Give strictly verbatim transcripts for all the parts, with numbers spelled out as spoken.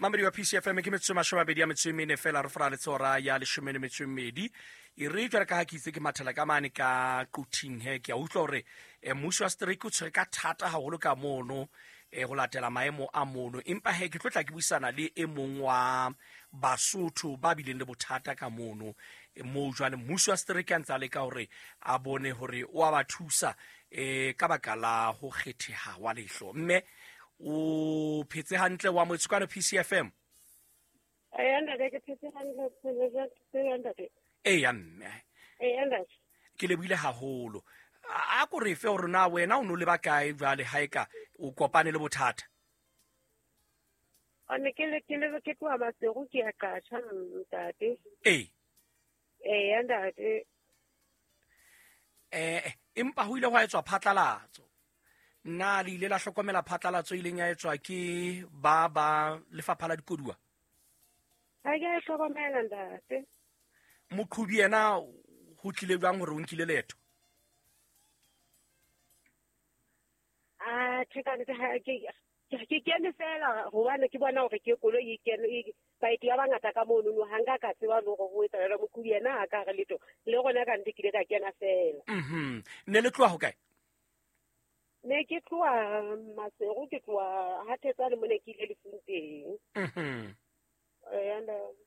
Mamedi wa P C F M ke metsotso e mashome a mabedi a metso e mene fela re fora le hora ya leshome le metso e mmedi. E re jwale ka ha ke itse ke mathela ka mane ka Quthing he, ke a utlwa hore eh, mmuso wa setereke o tshwere ka thata haholo ka mono eh, ho latela maemo a mono. Empa he ke tlo tla ke buisana le e mong wa Basotho ba bileng le bothata ka mono, eh, moo jwale mmuso wa setereke a ntse a leka hore a bone hore o a ba thusa eh, ka baka la ho kgetheha wa lehlo. Mme o phetse hantle wa motsho kwano P C F M? Eya, ntate, ke phetse hantle, phetse ntate. Eya, mme. Eya, ntate. Ke lebohile haholo. A, a ko re fe hore na wena o no leba kae jwale ha eka o kopane le bothata? A ne ke le, ke le, ke tloha Maseru, ke ya Qatjha, ntate. Ee. Eya, ntate. Eh, empa ho ile hwa etswa phatlalatso. Na le ile la hlokomela phatlalatso e ileng ya etswa ke ba ba lefapha la dikoduwa? Ha ke a hlokomela, ntate. Moqhobi yena ho tlile jwang hore o nkile leeto? Ah, tjhe, ka nnete ha ke, ke, ke kene fela hobane ke bona hore ke koloi e kene, e, baeti ba bangata ka mono, no, ha nka ka tseba le hore ho etsahala jwang. Moqhobi yena ha ka re letho, le rona ka nnete ke ile ka kena fela. Mhm. Ne le tloha hokae? Ne ke tloha Maseru, ke tloha ha Thetsane mone ke ile lefung teng. Mhm. Eya, ntate.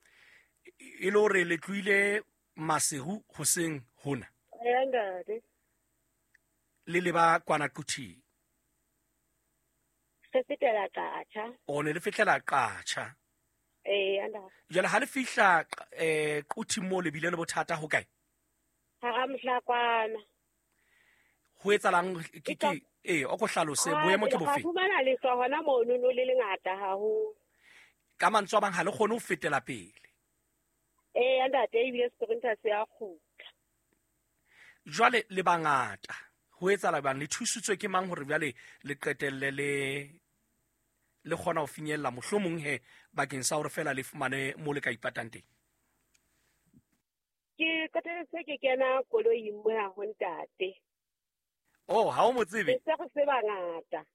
E le hore le tlohile Maseru hoseng hona? Eya, ntate. Le leba kwana Quthing? Re fetela Qatjha. O ne le fetela Qatjha. Eya, ntate. Jwale ha le fihla, eh, Quthing moo le bile le bothata ho kae? Hara Mohlakwana. Ho etsahalang? Ke, E ka ke, ee, o ko hlalose, Ah, boemo ke ra bofe? fumana lehlwa hona mono, no le lengata haholo. Ka mantswe a mang ha le kgone ho fetela pele. Eya, ntate, ebile sprinter se a kgutla. Jwale le bangata, ho etsahala jwang? Le thusitswe ke mang hore jwale le qetelle le, le kgona ho finyella mohlomong he bakeng sa hore fela le fumane mo le ka ipatang teng? Ke qetelletse ke kena koloing mona ho ntate. Oh, ha o mo tsebe? Ke se re se bangata.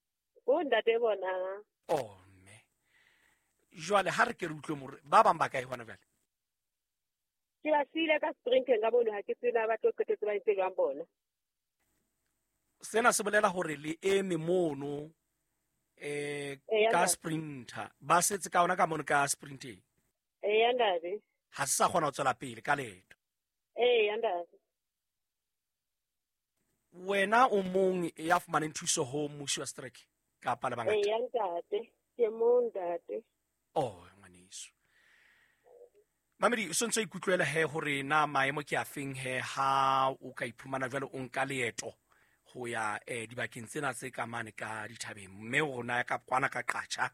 Ho ntate bona. Oh, mme. Jwale ha re ke re utlwe more, ba bang ba kae hona jwale? Ke ba siile ka sprinteng ka mono, ha ke tsebe ba tlo qetetse ba entse jwang bona. Sena se bolela hore le eme mono, eh, Eya, ka ntate. sprinter. Ba setse ka ona ka mono ka sprinteng. Eya, ntate. Ha se sa kgona ho tswela pele ka leeto. Eya, ntate. Wena o mong ya fumaneng thuso ho mmuso wa setereke kapa le bangata? Eya, ntate. Ke mong, ntate. Oh, ngwaneso. Mamedi, o sontso ikutlwela he hore na maemo ke a feng he ha o ka iphumana jwale o nka leeto ho ya, eh, dibakeng tsena tse ka mane ka dithabeng, mme rona ka kwana ka Qatjha,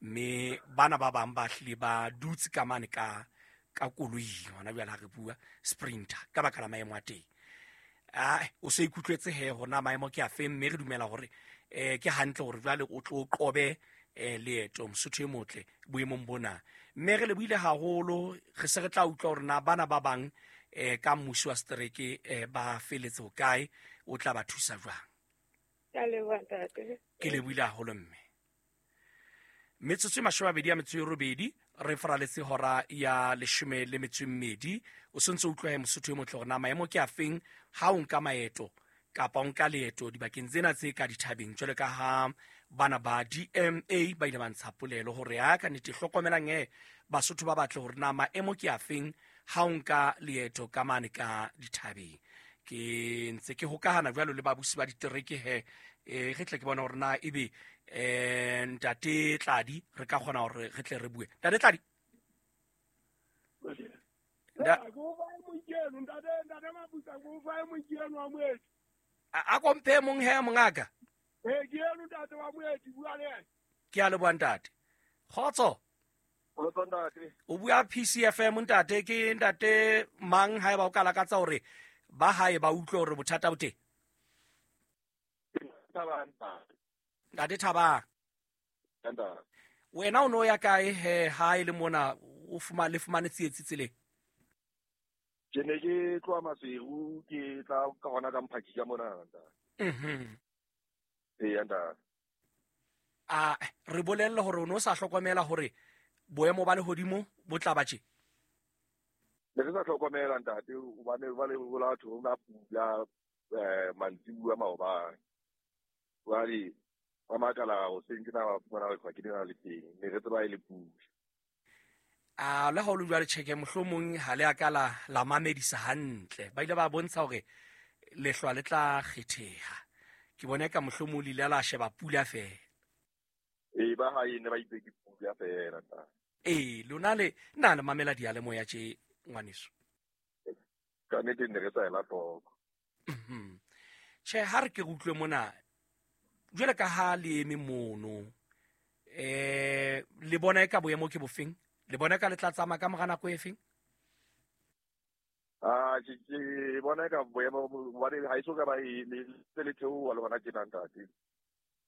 mme bana ba bang ba hlile ba dutse ka mane ka, ka koloing hona jwale ha re bua sprinter ka baka la maemo a teng. Ah, o se ikutlwetse he hore na maemo ke a feng, mme re dumela hore, eh, ke hantle hore jwale o tlo qobe, eh, leeto Mosotho e motle boemong bona. Mme re lebohile haholo, re se re tla utlwa hore na bana ba bang, eh, ka mmuso wa setereke, eh, ba feletse hokae, o tla ba thusa jwang. Ke a leboha, ntate. Ke lebohile haholo, mme. Metsotso e mashome a mabedi a metso e robedi, re faraletse hora ya leshome le metso e mmedi. O sontso o utlwa he Mosotho e motle hore na maemo ke a feng ha o nka maeto kapa o nka leeto dibakeng tsena tse ka dithabeng, jwalo ka ha bana ba D M A ba ile ba ntsha polelo hore ha ka nnete hlokomelang he Basotho ba batle hore na maemo ke a feng ha o nka leeto ka mane ka dithabeng. Ke ntse ke hokahana jwalo le babusi ba ditereke he, eh, re tle ke bone hore na ebe, eh, ntate Tladi re ka kgona hore re tle re bue. Ntate Tladi? Nda- A, a komphe mong he mongaka? Eh, ke eno ntate wa moeti, bua le yena. Ke a leboha ntate. Kgotso? Kgotso ntate. O bua P C F M ntate, ke ntate mang haeba o ka lakatsa hore ba hae ba utlwe hore bothata bo teng? Thabang, ntate. Ntate Thabang. Ntate. Wena o no ya kae he ha e le mona o fuma-, le fumane tsietsi tseleng? Ke ne ke tloha Maseru, ke tla ka hona ka Mphaki ka mona, ntate. Mhm. Eya, ntate. A re bolelle hore o no sa hlokomela hore boemo ba lehodimo bo tla ba tje? Ne re sa hlokomela ntate, hobane jwale ho la thwe ho na pula eh mantsibuya maobane. Jwale ba makala hoseng tjena ba fumana lehlwa ke lena le teng, ne re tseba e le pula. A le ha o le jwale tjheke mohlomong ha le a ka la la mamedisa hantle. Ba ile ba bontsha hore lehlwa le tla kgetheha. Ke bona ka mohlomong le ile la sheba pula feela. Ee, ba hae ne ba itse ke pula feela ntate. Ee, lona le nna le mamela diyalemoya tje ngwaneso. Ka nnete ne re sa ela hloko. Mhm. Tjhe, ha re ke re utlwe mona jwale ka ha le eme mono, eh le bona e ka boemo ke bofeng? Le bona ka le tla tsamaya ka mora nako e feng? Ah, ke ke bona ka boemo hobane ha eso ka ba e le se le theoha le hona tjena ntate.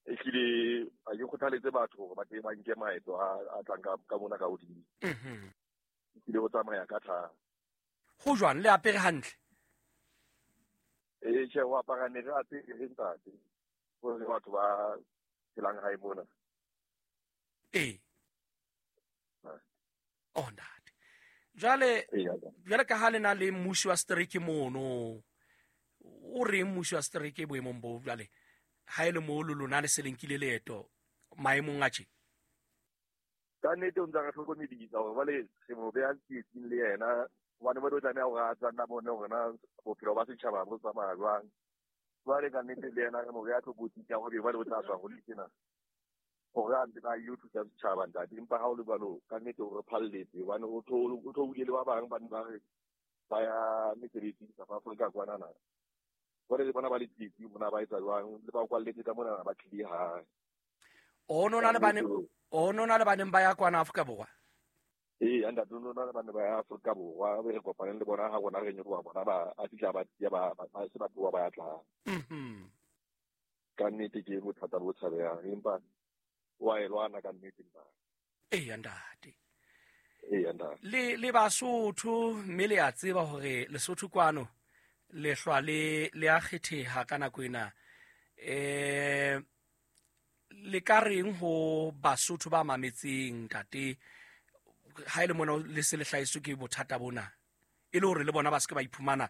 Ehlile ha ke kgothaletse batho hore ba tle ba nke maeto a a tlang ka ka mona ka hodimo. Mhm. Ehlile ho tsamaya ka thata. Ho jwang, le apere hantle? Ee, tjhe, ho apara ne re apere ntate. Hore batho ba phelang hae mona. Ee. Oh ntate. Jwale jwale ka ha le na le mmusi wa setereke mono, o reng mmusi wa setereke boemong bo jwale? Ha e le moo le lona le se le nkile leeto maemong a tje? Ka nnete o ntsa re hlokomedisa hore jwale re mo beha tsietsing le yena, hobane ba tlo tlameha hore a tsa nna bone hore na bophelo ba setjhaba bo tsamaya jwang. Jwale ka nnete le yena re mo beha tlokotsing ya hore jwale o tla tswa ho le tjena hore a ntse a ilo thusa setjhaba ntate. Empa ha o le jwalo ka nnete o re phalletse, hobane o theohile le ba bang ba ne ba re ba ya mesebetsing South Africa kwanana. Jwale le bona ba le tsietsing mona ba etsa jwang, le ba kwalletse ka mona ba tlile hae. O no na le bane, o no na le baneng ba ya kwana Afrika Borwa? Ee, ntate, no na le bane ba ya Afrika Borwa, be re kopaneng le bona ha rona re nyoloha bona ba a fihla ba ya ba ba se ba tloha ba ya tla. Mhm. Ka nnete ke bothata bo tshabehang, empa wa e lwana ka nnete ntate. Ee, ntate. Ee, ntate. Le le Basotho mme le a tseba hore Lesotho kwano lehlwa le le a kgetheha ka nako ena. Eh le ka reng ho Basotho ba mametseng ntate, ha ile mona le se le hlahiswe ke bothata bona, e le hore le bona ba se ke ba iphumana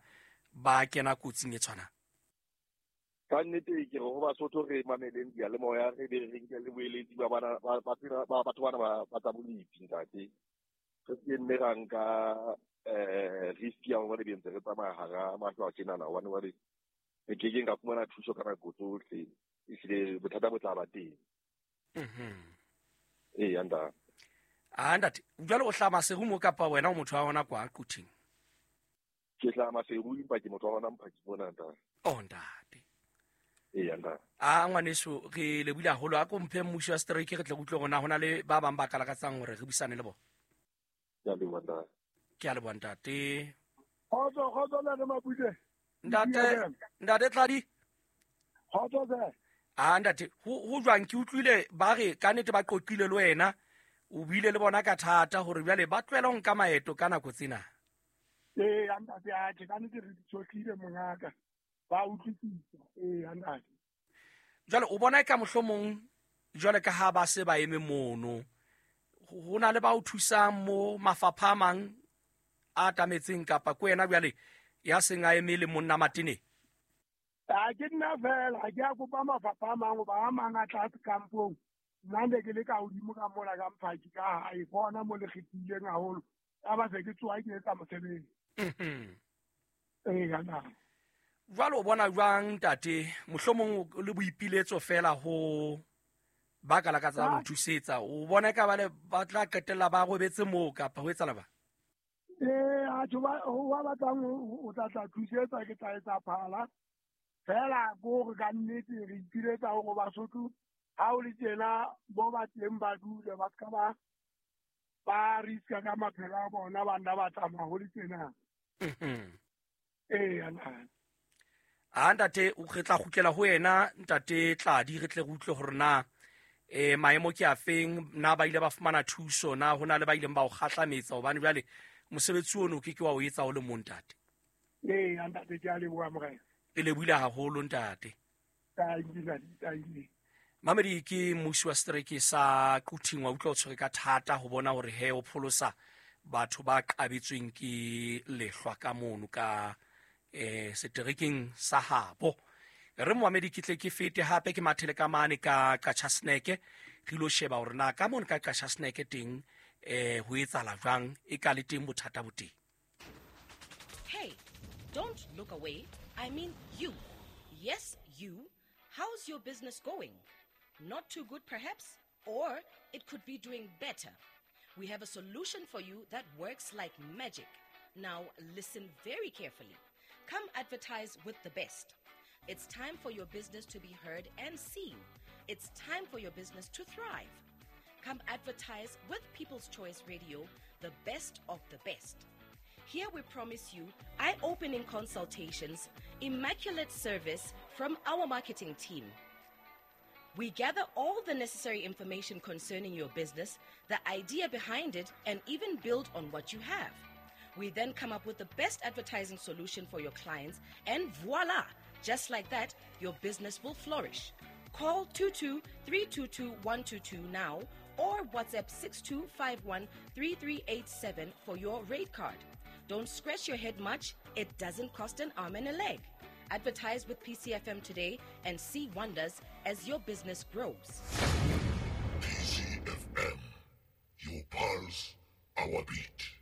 ba kena kotsing e tshwanang? Ka nnete ke re ho Basotho re mameleng diyalemoya, re be re nke le boeletsi ba bana ba ba batho bana ba ba tsa bolipi ntate. Re se nne ra nka eh risk ya hore be ntse re tsamaya hara mahlo a tjenana, hobane jwale re kekeng ka fumana thuso ka nako tsohle. Ehlile bothata bo tla ba teng. Mhm. Ee, ntate. Ah ntate, jwale o hlaha Maseru mo kapa wena o motho wa hona kwa Quthing? Ke hlaha Maseru empa ke motho wa hona Mphaki mona ntate. Oh ntate. Ee, ntate. Ah ngwaneso, re lebohile haholo. A ko mphe mmusi wa setereke re tle re utlwe hore na hona le ba bang ba ka lakatsang hore re buisane le bona. Ke a leboha ntate. Ke a leboha ntate. Kgotso, kgotso ntate Mapule. Ntate, ntate Tladi. Kgotso hle. Ah ntate, ho ho jwang? Ke utlwile ba re ka nnete ba qoqile le wena, o buile le bona ka thata hore jwale ba tlohela ho nka maeto ka nako tsena. Ee, ntate, atjhe ka nnete re di tshohlile mongaka. Ba utlwisisa. Ee, ntate. Jwale o bona ka mohlomong jwale ka ha ba se ba eme mono, ho na le ba o thusang mo mafapha a mang a atametseng, kapa ke wena jwale ya seng a eme le monna Matene? A ke nna fela, ha ke a kopa mafapha a mang hoba a mang a tlase kampong. Nna ne ke le ka hodimo ka mola ka Mphaki ka hae, ke hona mo le kgethileng haholo. Ya ba se ke tsoha ke etsa mosebetsi. Mhm. Ee, ntate. Jwale o bona jwang ntate, mohlomong le boipiletso fela ho ba ka lakatsang ho thusetsa, o bona ka ba le ba tla qetella ba robetse moo kapa ho etsahala ba? Ee, atjhe ba ba batlang ho tla tla thusetsa, ke tla etsa phala. Fela ke hore ka nnete re ipiletsa hore Basotho ha o le tjena bo ba teng ba dule, ba ska ba ba riska ka maphelo a bona, ba nna ba tsamaya ho le tjena. Mhm. Ee, ntate. Ah ntate, o re tla kgutlela ho yena ntate Tladi, re tle re utlwe hore na eh maemo ke a feng, na ba ile ba fumana thuso, na hona le ba ileng ba o kgahlametsa, hobane jwale mosebetsi ono ke ke wa o etsa o le mong ntate. Ee, ntate, ke a leboha morena. Re lebohile haholo ntate. Tanki, ntate, tanki. Mamedi ke mmusi wa setereke sa Quthing, wa utlwa o tshwere ka thata ho bona hore he o pholosa batho ba qabetsweng ke lehlwa ka mono ka eh seterekeng sa habo. Re moamedi ke tle ke fete hape ke mathele ka mane ka Qacha Snake, re ilo sheba hore na ka mono ka Qacha Snake teng eh ho etsahala jwang, e ka le teng bothata bo teng. Hey, don't look away. I mean you. Yes, you. How's your business going? Not too good perhaps, or it could be doing better. We have a solution for you that works like magic. Now listen very carefully. Come advertise with the best. It's time for your business to be heard and seen. It's time for your business to thrive. Come advertise with People's Choice Radio, the best of the best. Here we promise you eye-opening consultations, immaculate service from our marketing team. We gather all the necessary information concerning your business, the idea behind it, and even build on what you have. We then come up with the best advertising solution for your clients, and voila! Just like that, your business will flourish. Call two two three two two one two two now or WhatsApp six two five one three three eight seven for your rate card. Don't scratch your head much. It doesn't cost an arm and a leg. Advertise with P C F M today and see wonders as your business grows. P C F M, your pulse, our beat.